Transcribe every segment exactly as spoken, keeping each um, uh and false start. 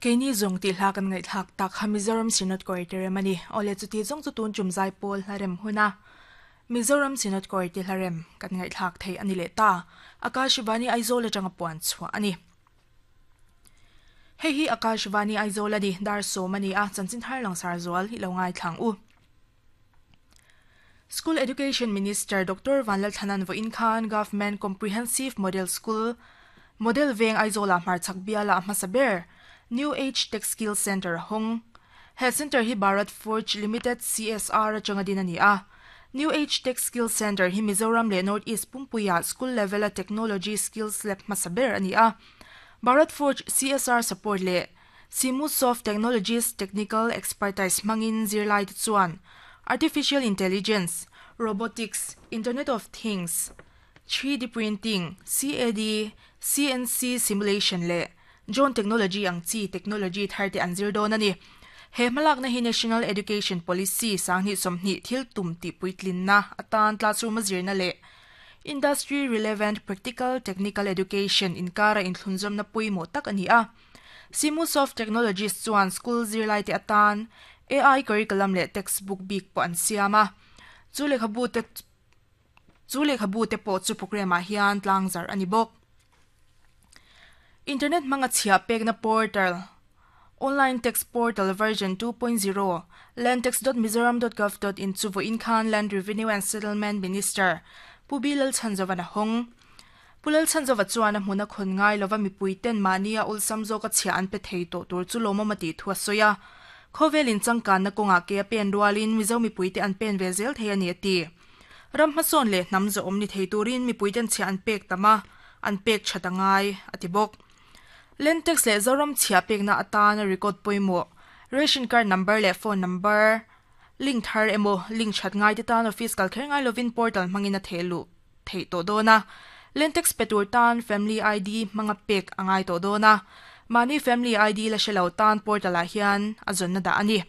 Keini zawng tih hla kan ngaihthlak tak kha Mizoram Synod Choir te rem a ni. Awle chuti zawng chu tun tum zai pawl hla rem huna Mizoram Synod Choir te hla rem kan ngaihthlak thei a ni leh ta. Akashvani Aizawl atanga puan chhuah a ni. Hei hi Akashvani Aizawl a ni, dar sawm a ni a, chanchin thar langsar zual hi lo ngaithlang u. School Education Minister Doctor Vanlalthanan vawiin khan Government Comprehensive Model School Model Veng Aizawla hmarchhak biala a hmasa ber New Age Tech Skill Centre a hawng. He centre hi Bharat Forge Limited C S R atanga din a ni a. New Age Tech Skill Centre hi Mizoram leh North East Pumpuia school level a technology skills lab hmasa ber a ni a. Bharat Forge C S R support leh Simusoft Technologies technical expertise hmangin zirlai te chuan artificial intelligence, robotics, Internet of Things, three D printing, C A D, C N C simulation leh drone technology ang chi technology thar te an zir dawn a ni. He hmalakna hi National Education Policy sanghnih sawmhnih thil tum tih puitlinna atan classroom a zirna leh industry relevant practical technical education inkara inthlunzawmna pawimawh tak a ni a. Simusoft Technologies chuan school zirlai te atan A I curriculum leh textbook bik pawh an siam a. Chu lehkhabu te chu lehkhabu te pawh chu program ah hian tlangzar a ni bawk. Internet hmanga chhiah pekna portal Online Tax Portal version two point zero landtax dot mizoram dot gov dot in chu vawiin khan Land Revenue and Settlement Minister Pu B Lalchhanzova a hawng. Pu Lalchhanzova chuan a hmuna khawn ngai lova mipui ten mahni a awlsam zawk a chhiah an pe thei tawh tur chu lawmawm a tih thu a sawi a. Khawvelin changkanna kawngah ke a pen rualin Mizo mipui te an pen ve zel thei a ni a ti. Ram hmasawn leh hnam zawhawm ni thei turin mipui ten chhiah an pek tam a, an pek that a ngai a ti bawk. Land tax leh Zoram chhiah pekna atan a record pawimawh ration card number leh phone number link thar emaw link that ngai te tan office kal kher ngai lovin portal hmangin a thehlu theih tawh dawn a. Land tax pe tur tan family I D hmanga pek a ngai tawh dawn a. Mahni family I D la hrelo tan portal ah hian a zawnna dah a ni.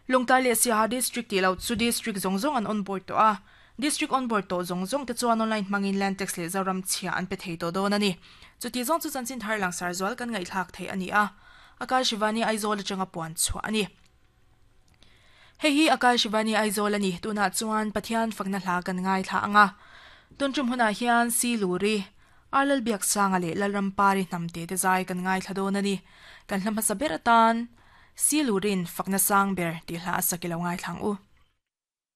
Lawngtlai leh Siaha district tih lo chu district zawng zawng an onboard tawh a. District onboard tawh zawng zawng te chuan online hmangin land tax leh Zoram chhiah an pe thei tawh dawn a ni. Chuti zawng chu chanchin thar langsar zual kan ngaihthlak thei a ni a. Akashvani Aizawl atanga puan chhuah a ni. Hei hi Akashvani Aizawl a ni. Tunah chuan Pathian fakna hla kan ngaithla anga. Tun tum hunah hian Si Luri, Arlal Biak Sanga leh Lalrampari hnamte te zai kan ngaithla dawn a ni. Kan hla hmasa ber atan Si Lurin fakna sang ber tih hla a sak i lo ngaithlang u.